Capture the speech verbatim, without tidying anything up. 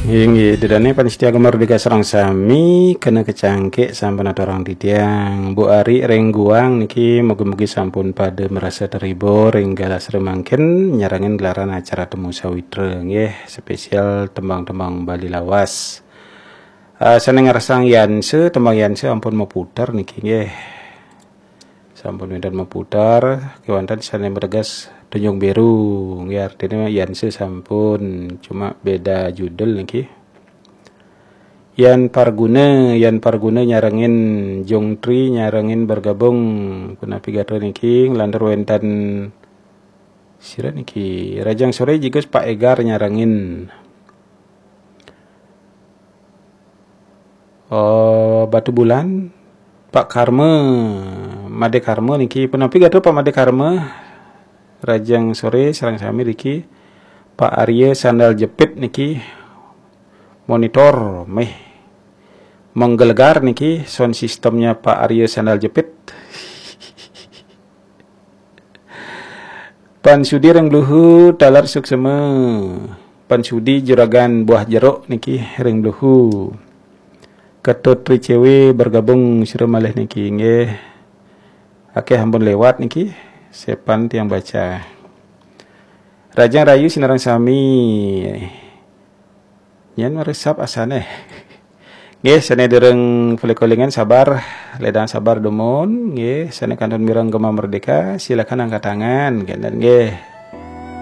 Inggih, ida dané pamiarsa Gema Merdeka sareng sami, kena kecangkik sampun aturang titiang. Bu Ari ring Guang niki mugi-mugi sampun pada merasa terhibur ring galah sare mangkin nyarengin gelaran acara Temu Sawitra nggih, spesial tembang-tembang Bali lawas. Ah, sané ngrasang Yanse, tembang Yanse ampun maputar niki nggih. Sampun wénten maputar, kéwanten sané mateges Tunjung Biru. Nggih, artinya Yanse sampun, cuma beda judul niki. Yan Parguna, Yan Parguna nyarengin Jungtri, nyarengin bergabung. Punapi gatra niki, nglantur wénten sira niki, Rajang Sore jigus Pak Egar nyarengin. Oh, Batu Bulan, Pak Karma, Made Karma niki. Punapi gatra Pak Made Karma, Rajang Sore sareng sami niki. Pak Arya Sandal Jepit niki, monitor méh menggelegar niki, sound systemnya Pak Arya Sandal Jepit. Pan Sudi ring Bluhu, taler suksma. Pan Sudi juragan buah jeruk niki ring Bluhu. Ketut Tri Cewe bergabung sira malih niki nggih. Akéh ampun lewat niki, sepan tiang baca. Rajang Rayu sinareng sami. Nyén maresap asané. Nggih, sané durung polih kolingan sabar, ledang sabar dumun. Nggih, sané kantun mireng Gema Merdeka, silakan angkat tangan, kénten nggih.